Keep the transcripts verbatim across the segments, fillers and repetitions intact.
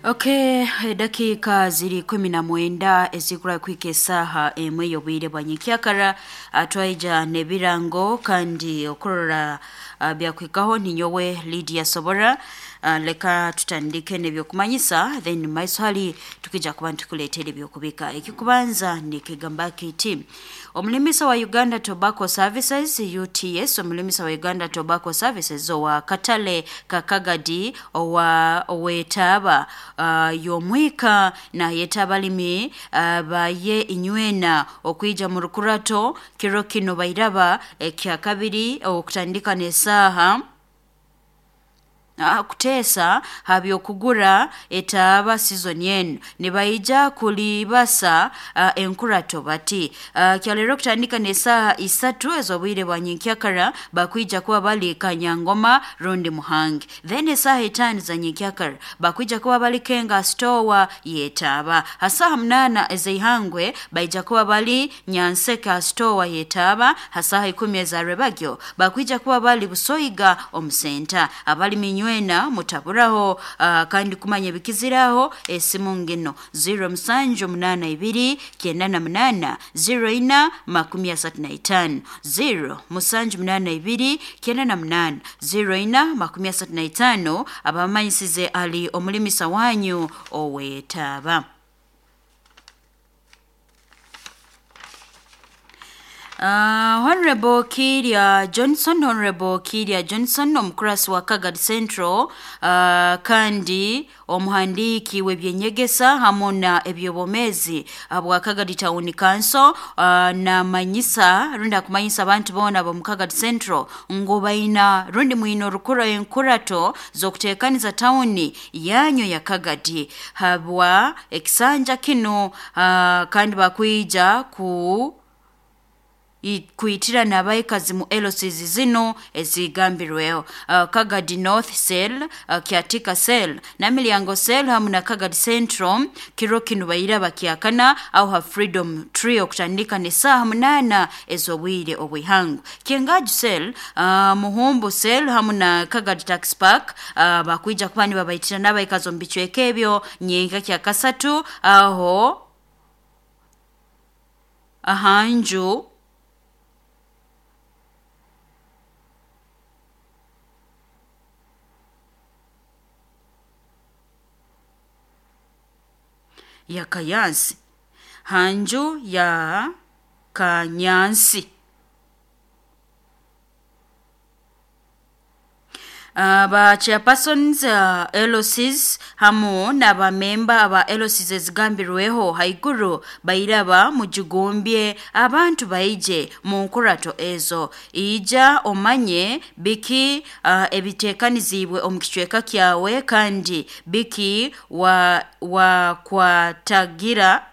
Okay, dakika ziri kumi na mwenda ezikura kwika esaha emwe y'obwire bwa nyenkyakara. Twaija n'ebirango kandi okurora uh, byakwikaho ninyowe Lydia Sobora. Uh, leka tutandike n'ebyokumanyisa, then maiso hali tukija kuba nitukuleetera ebyokubika. Ekikubanza nikigamba kiti: omulimisa wa Uganda Tobacco Services U T S, omulimisa wa Uganda Tobacco Services owa Katale Kakagadi owa owetaba uh, yomwika na yetabalimi uh, baye inywena okwija mu rukurato kiro kino bairaba ekya kabiri okutandika n'esaaha kutesa habyokugura etaaba season yenu nibaija kulibasa uh, enkurato bati uh, kyalero kutandika n'esaaha isatu ez'obwire bwa nyenkyakara bakwija kuba bali Kanyangoma rundi Muhangi, then esaaha etaano za nyenkyakara bakwija kuba bali Kenga store yetaaba, hasaha munana ez'eihangwe baija kuba bali Nyanseka store yetaaba, hasaha ikumi eza rebagyo bakwija kuba bali Busoiga omusenta. Abalimi nywena mutaburaho uh, kandi kumanya bikiziraho esimu ngino zero musanju munana ibiri kyenda na munana zero ina makumi asatu na itano zero musanju munana ibiri kyenda na munana zero ina makumi asatu na itano. Abamanyisize ali omulimisa wanyu owetaba. Uh, Honorable Kiria Johnson, Honorable Kiria Johnson, omukurasi wa Kagadi Central, uh, kandi omuhandiki w'ebyenyegesa hamwe na ebyobomezi bwa Kagadi Town Council, uh, na manyisa rundi akumanyisa abantu boona ab'omu Kagadi Central ngu baina rundi mwino rukura enkurato z'okuteekaniza tawuni yanyu ya Kagadi habwa ekisanja kino, uh, kandi bakwija ku kuitira n'abaikazi mu L Cs zino ezigambirweho uh, Kagadi North Cell, uh, Kiatika Cell na Milyango Cell hamu na Kagadi Central. Kiro kino baira bakyakana au ha Freedom Tree okutandika n'esaaha munana ez'obwire obwihangu. Kiengaju Cell, uh, Muhumbu Cell hamu na Kagadi Tax Park uh, bakwija kuba nibabaitira n'abaikazi omu bicweka ebyo nyenka kya kasatu aho ahanju ya Kayansi, hanju ya Kanyansi. Uh, ba chairpersons uh, L Cs hamu n'abamemba aba L Cs ezigambirweho haiguru bairaba mujugumbye abantu baije mu nkurato ezo. Ija omanye biki uh, ebitekanizibwe omu kicweka kyawe kandi biki wa, wa kwatagira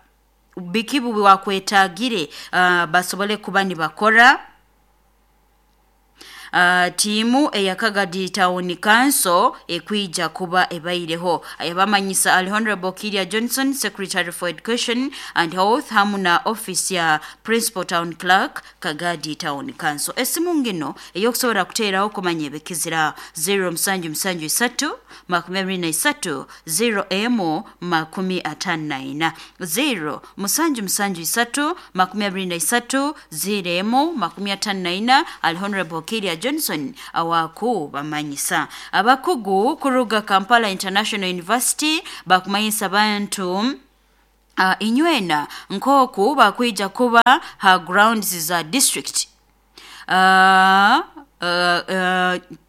biki bubi wakwetagire uh, basobole kuba nibakora. Uh, tiimu eya Kagadi Town Council ekwija kuba ebaireho. Ayabamanyisa ali Honorable Kiria Johnson, Secretary for Education and Health hamu na office ya Principal Town Clerk Kagadi Town Council. Esimu ngino eyokusobola kuteeraho kumanya ebikizira zero musanju musanju isatu makumi abiri na isatu zero emu makumi atano na ina zero musanju musanju isatu makumi abiri na isatu zero emu makumi atano na ina. Ali Honorable Kiria Johnson awaku bamanyisa. Abakugu kuruga Kampala International University bakumanyisa bantu uh, inywena nkoku bakwija kuba ha grounds za district uh, Uh,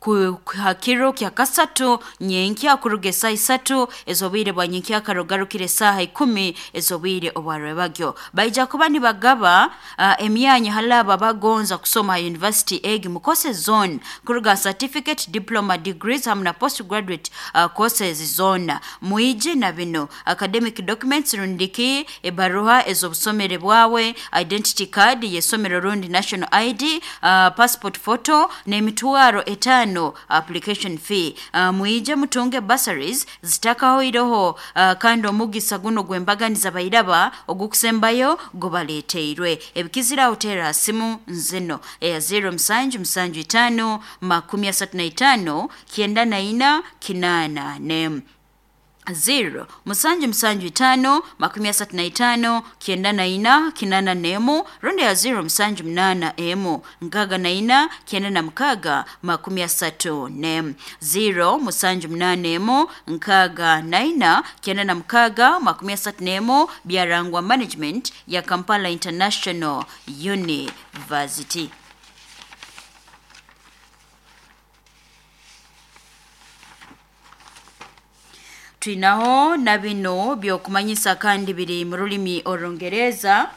uh, hakiro kya kasatu nyenkya kuruga esaha isatu ez'obwire bwa nyenkya karugarukire esaha ikumi ez'obwire obwarwebagyo. Baija kuba nibagaba uh, emyanya halaba bagonza kusoma university egi mu courses zone kuruga certificate, diploma, degrees hamu na postgraduate uh, courses zona. Muije na bino academic documents rundiki ebaruha ez'obusomere bwawe, identity card yesomero rundi national I D, uh, passport photo n'emitwaro etano application fee. Uh, muije mutunge bursaries zitakahoiroho uh, kandi omugisa guno gwembaganiza bairaba ogukusembayo gubaleteirwe. Ebikizira otera simu nzino eya zero musanju musanju itano makumi asatu na itano kyenda na ina kinana nemu Zero musanju musanju itano makumi asatu na itano kyenda na ina kinana nemu rundi ya zero musanju munana emu nkaga na ina kyenda na mukaga makumi asatu nemu zero musanju munana emu nkaga na ina kyenda na mukaga makumi asatu nemu byarangwa management ya Kampala International University. Twinaho na bino byokumanyisa kandi biri mu rulimi orungereza.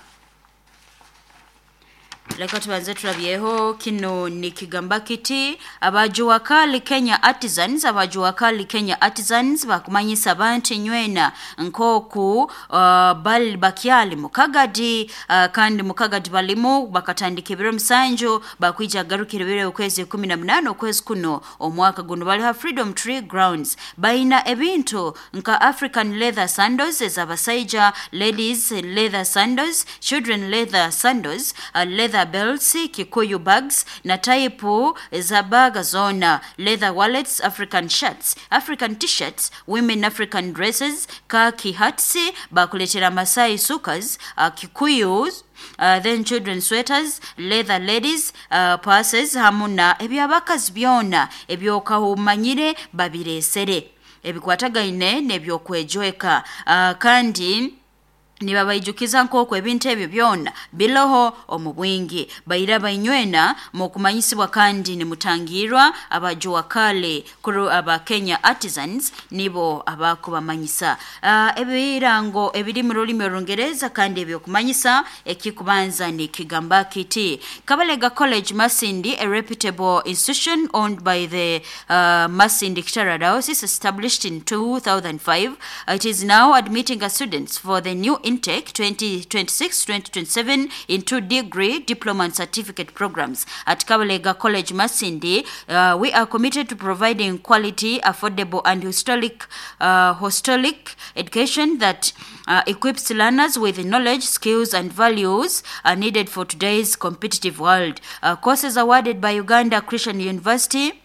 Leka tubanze turabyeho kino ni kigamba kiti abajuwakali Kenya Artisans abajuwakali Kenya Artisans bakumanyisa abantu nywena nkoku uh, bali bakyali mukagadi uh, kandi mukagadi balimu bakatandika ebiro musanju bakwija garukira ebiro okwezi kumi na munana okwezi kuno omwaka guno bali ha Freedom Tree Grounds baina ebintu nka African leather sandals ez'abasaija, ladies leather sandals, children leather sandals, uh, leather belts, Kikuyu bags na taipu za baga zona, leather wallets, African shirts, African t-shirts, women African dresses, khaki hats, bakuletera Masai sukas, uh, Kikuyus, Uh, then children sweaters, leather ladies uh, purses hamu na ebyabakazi byona ebyokahumanyire babiresere ebikwatagaine n'ebyokwejweka uh, kandi nibabaijukiza nk'oku ebintu ebyo byona biloho omu bwingi baira bainywena mukumanyisibwa kandi nimutangirwa abajuwakale kuru aba Kenya Artisans nibo abakubamanyisa uh, ebirango ebiri mu rulimi orungereza kandi ebyokumanyisa ekikubanza ni kigamba kiti Kabalega College Masindi, a reputable institution owned by the uh, Masindi Kitara Diocese, established in two thousand five. It is now admitting students for the new intake twenty twenty-six twenty twenty-seven into degree, diploma and certificate programs. At Kabalega College Masindi, uh, we are committed to providing quality, affordable and historic, uh, holistic education that uh, equips learners with knowledge, skills and values uh, needed for today's competitive world. Uh, courses awarded by Uganda Christian University,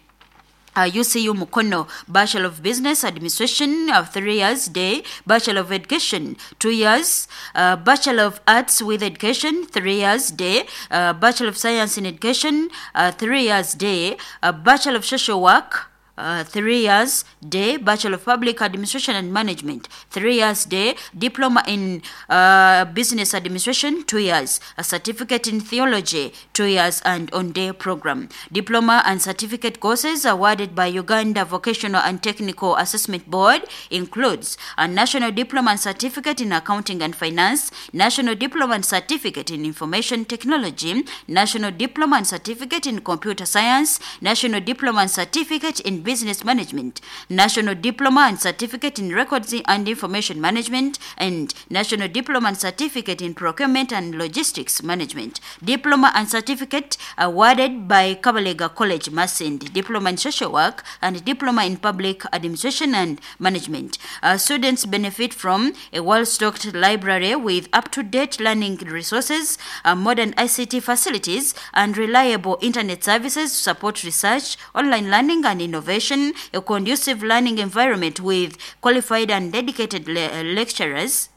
Uh, U C U Mukono, Bachelor of Business Administration of uh, three years day, Bachelor of Education two years, uh, Bachelor of Arts with Education three years day, uh, Bachelor of Science in Education uh, three years day, uh, Bachelor of Social Work Uh, three years day, Bachelor of Public Administration and Management three years day, Diploma in uh, Business Administration two years, a Certificate in Theology two years and on day program. Diploma and certificate courses awarded by Uganda Vocational and Technical Assessment Board includes a National Diploma and Certificate in Accounting and Finance, National Diploma and Certificate in Information Technology, National Diploma and Certificate in Computer Science, National Diploma and Certificate in Business Management, National Diploma and Certificate in Records and Information Management, and National Diploma and Certificate in Procurement and Logistics Management. Diploma and Certificate awarded by Kabalega College Masindi, Diploma in Social Work and Diploma in Public Administration and Management. Uh, students benefit from a well-stocked library with up-to-date learning resources, uh, modern I C T facilities, and reliable internet services to support research, online learning, and innovation, a conducive learning environment with qualified and dedicated le- lecturers,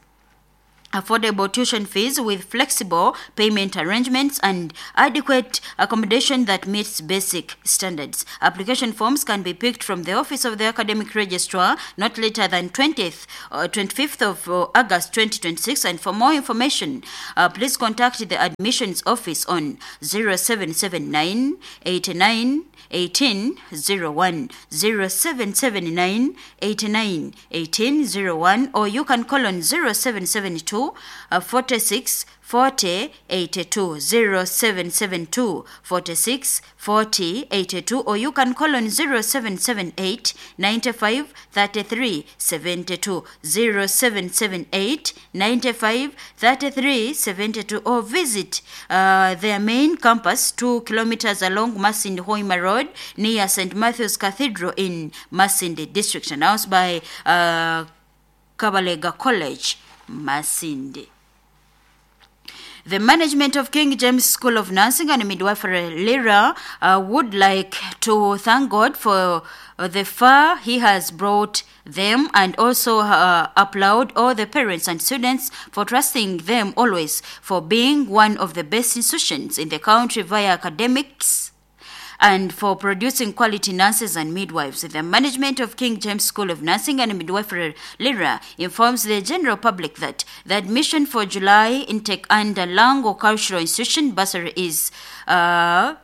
affordable tuition fees with flexible payment arrangements, and adequate accommodation that meets basic standards. Application forms can be picked from the office of the academic registrar not later than twentieth or twenty-fifth of August twenty twenty-six. And for more information, uh, please contact the admissions office on zero seven seven nine eight nine eighteen zero one, zero seven seven nine eighty-nine eighteen zero one, or you can call on zero seven seven two forty-six forty eighty-two, zero seven seven two forty-six forty eighty-two, or you can call on zero seven seven eight ninety-five thirty-three seventy-two, zero seven seven eight ninety-five thirty-three seventy-two, or visit uh, their main campus two kilometers along Masindi Hoima Road near Saint Matthew's Cathedral in Masindi District. Announced by uh, Kabalega College, Masindi. The management of King James School of Nursing and Midwifery Lira uh, would like to thank God for the far he has brought them, and also uh, applaud all the parents and students for trusting them always, for being one of the best institutions in the country via academics and for producing quality nurses and midwives. The management of King James School of Nursing and Midwifery Lira informs the general public that the admission for July intake under Lango Cultural Institution bursary is uh,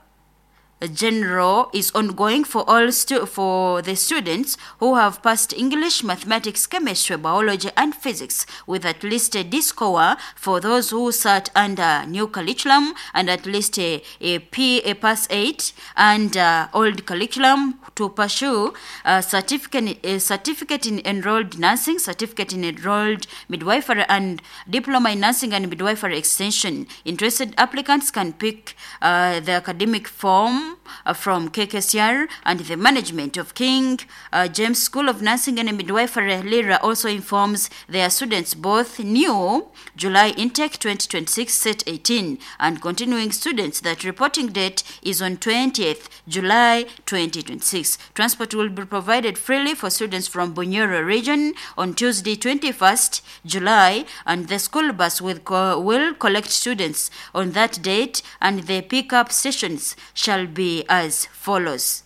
general is ongoing for all stu- for the students who have passed English, mathematics, chemistry, biology and physics with at least a D score for those who sat under new curriculum, and at least a, a P a pass eight and uh, old curriculum to pursue a certificate, a certificate in enrolled nursing, certificate in enrolled midwifery and diploma in nursing and midwifery extension. Interested applicants can pick uh, the academic form from K K C R, and the management of King uh, James School of Nursing and Midwifery Lira also informs their students both new July intake twenty twenty-six set eighteen and continuing students that reporting date is on twentieth July twenty twenty-six. Transport will be provided freely for students from Bunyoro region on Tuesday twenty-first July, and the school bus will, co- will collect students on that date, and the pickup stations shall be as follows.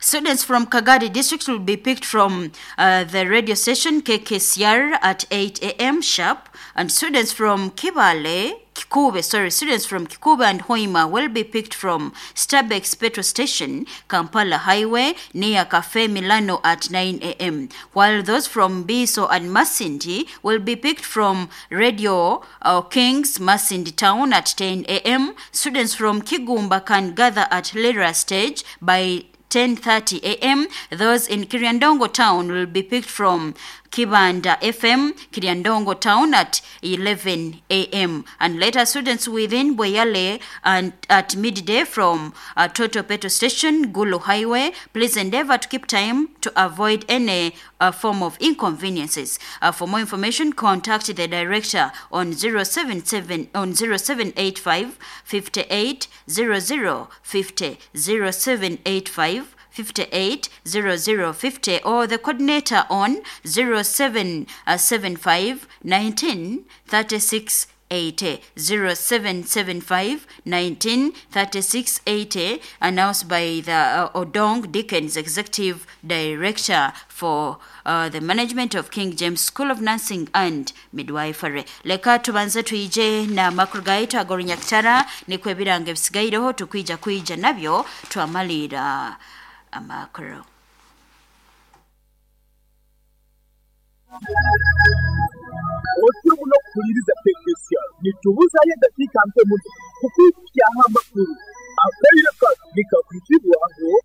Students from Kagadi district will be picked from uh, the radio station K K C R at eight a.m. sharp, and students from Kibale, Kikube, sorry, students from Kikube and Hoima will be picked from Starbucks petrol station, Kampala Highway, near Cafe Milano at nine a.m. While those from Biso and Masindi will be picked from Radio uh, Kings, Masindi Town at ten a.m. Students from Kigumba can gather at Lira stage by ten thirty a.m. Those in Kiryandongo town will be picked from Kibanda F M, Kiryandongo town at eleven a.m. And later, students within Bweyale and at midday from uh, Toto Petrol Station, Gulu Highway. Please endeavor to keep time to avoid any uh, form of inconveniences. Uh, for more information, contact the director on zero seven seven on zero seven eight five fifty-eight zero zero fifty, zero seven eight five fifty-eight zero zero fifty, or the coordinator on zero seven seven five nineteen thirty-six eighty, zero seven seven five nineteen thirty-six eighty, announced by the uh, Odong Dickens, Executive Director for uh, the management of King James School of Nursing and Midwifery. Leka tubanze tuije na makuru gaitu agorinyakitara nikwe birange bisigaireho tukwija kwija nabyo twamalira amakuru. Otimu no kuliriza K K C R nitubuzayo dakika mpe muno kukwikyaho amakuru akaire nikakwitibwaho.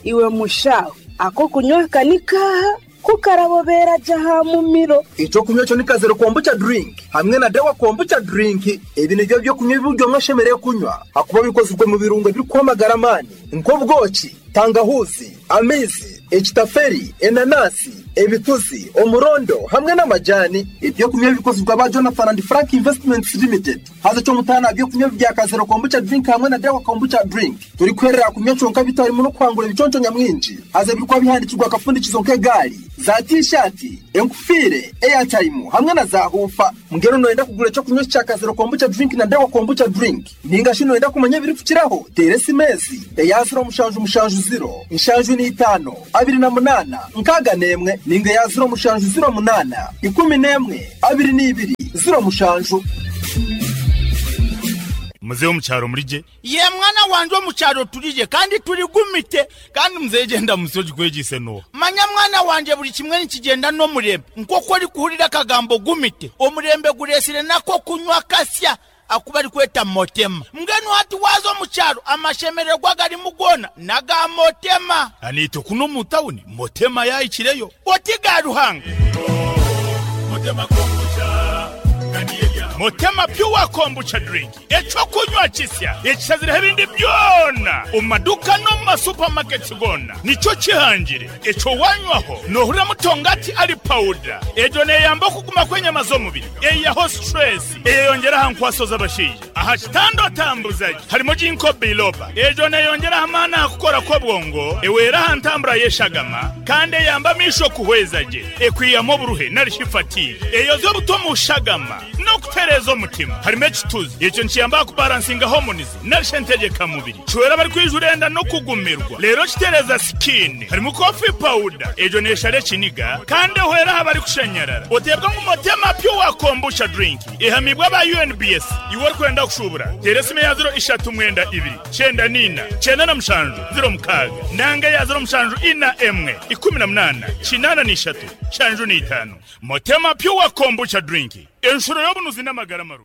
Iwe mushawe ako kunywa kanika kukarabobera jaha mumiro. Ico kunywa cyo nikazero kombucha drink hamwe na dawa kombucha drink. Ebi nivyo byo kunywa ibyo mwashemereye kunywa hakuba bikozwe mu birungo biri kwamagara mani nk'ubwoki, tangahuzi, amizi, ekitaferi, enanasi, ebituzi, omurondo hamwe n'amajani. Ibyo kunywa bikozwe ba Jonathan and Frank Investments Limited. Haza cyo mutana byo kunywa bya kazero kombucha drink hamwe na dawa kombucha drink. Turi kwerera kunywa conka bitari mu no kwangura ibiconco nyamwinji. Haza birikwa bihandikirwa akafundikizo nk'egari, za t-shirt, enkufire, airtime hamwe na za hufa. Mugero noenda kugura cyo kunywa cya kazero kombucha drink na dawa kombucha drink. Ninga shino enda kumenya biri kukiraho. Teresi mezi, eyaziro mushanju mushanju zero, inshanju ni itano, abiri na munana, nkaga nemwe, ninga ya zero mushanju zero munana, ikumi nemwe, abiri n'ibiri, zero mushanju. Mzee omukyalo mulije? Ye mwana wanje omukyalo tulije kandi tuligumite. Kandi mzee genda musoji kwegise no. Manya mwana wanje buli kimwe nikigenda n'omurembe. Nk'oku ori kuhurira akagambo gumite, omurembe guresire nako kunywa kasya akuba ari kweta motema. Mbwenu hati waza omukyalo amashemererwa gari mugona naga motema. Anito kuno mu tawuni motema yayikireyo. Oti ga Ruhanga. Motema kombucha. Motema Pure Kombucha drink, ekyokunywa kisya ekishazireho ebindi byona omu maduka no mu masupamaketi gona, nikyo kihangire ekyo wanywaho nohurira mutongati ali pawuda. Egyo neyamba okuguma kw'enyama z'omubiri, eyaho stress, eyeyongera aha nkwaso z'abashaija aha kitanda otambuzagi. Harimo ginkgo biloba, egyo neyongera amaani aha kukora kw'obwongo, ewera aha ntambura y'eshagama, kandi eyamba amisho kuhweza gye, ekwiyamu oburuhe narishi fatigue, eyoza obuto mu shagama n'okutereeza omutima. Harimo ekituzi, ekyo nikiyamba kubalansinga hormones narishi entegekamubiri, kiwera bari kwijura enda n'okugumirwa, rero kitereza skin. Harimo coffee powder, egyo neshara ekiniga kandi ehwera aha bari kushanyarara. Oteebwa ngu Motema Pure Kombucha drink ehamibwa aba U N B S. Iwe orikwenda kushubura, tera esimu ya zero ishatu mwenda ibiri cyenda nina cyenda na mushanju zero mukaaga nanga ya zero mushanju ina emwe ikumi na munana kinana n'ishatu shanju n'itano. Motema Pure Kombucha drink, enshuro y'obunuzi n'amagara maru.